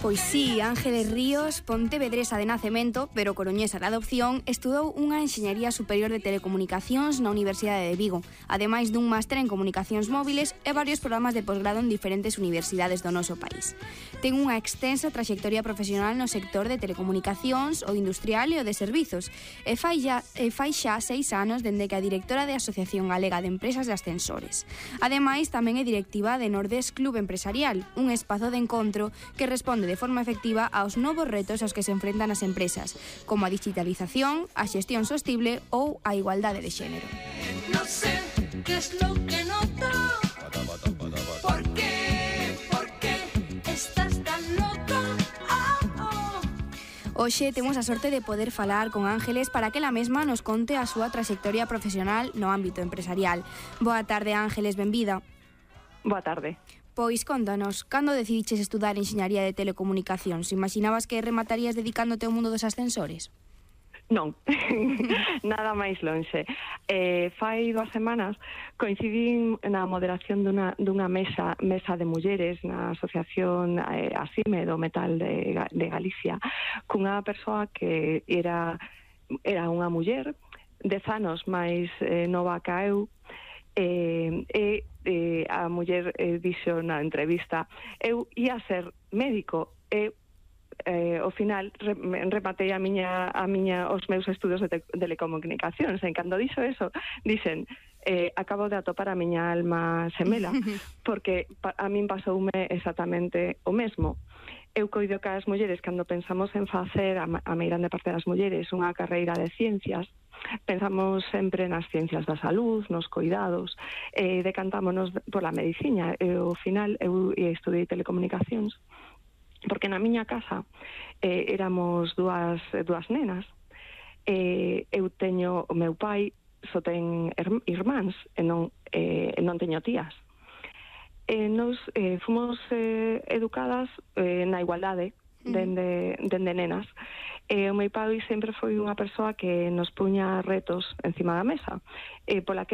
Pois sí, Ángeles Ríos, pontevedresa de nacemento, pero coruñesa de adopción, estudou unha enxeñería superior de telecomunicacións na Universidade de Vigo, ademais dun máster en comunicacións móviles e varios programas de posgrado en diferentes universidades do noso país. Ten unha extensa traxectoria profesional no sector de telecomunicacións, o industrial e o de servizos, e fai xa 6 anos dende que a directora de Asociación Galega de Empresas de Ascensores. Ademais, tamén é directiva de Nordes Club Empresarial, un espazo de encontro que responde de forma efectiva aos novos retos aos que se enfrentan as empresas, como a digitalización, a xestión sostible ou a igualdade de xénero. No sé qué es lo que noto. ¿Por qué estás tan loco? Hoxe temos a sorte de poder falar con Ángeles para que ela mesma nos conte a súa traxectoria profesional no ámbito empresarial. Boa tarde, Ángeles, benvida. Boa tarde. Pois contanos, cando decidiches estudar enxeñaría de telecomunicacións? Imaginabas que rematarías dedicándote ao mundo dos ascensores? Non, nada máis lonxe. Fai 2 semanas coincidín na moderación dunha mesa de mulleres na asociación ASIME do Metal de Galicia, cunha persoa que era unha muller 10 anos máis nova que eu, a muller dixo na entrevista: eu ia ser médico e ao final rematei os meus estudos de telecomunicacións. En cando dixo eso, dixen: acabo de atopar a miña alma xemela, porque a min pasoume exactamente o mesmo. Eu coido que as mulleres, cando pensamos en facer, a meirande parte das mulleres, unha carreira de ciencias, pensamos sempre nas ciencias da salud, nos cuidados, decantámonos pola medicina. Ao final eu estudei telecomunicacións porque na miña casa éramos dúas nenas. Eu teño, o meu pai só ten irmáns e non teño tías. Nos fomos educadas na igualdade dende nenas. O meu pai sempre foi unha persoa que nos puña retos encima da mesa, pola que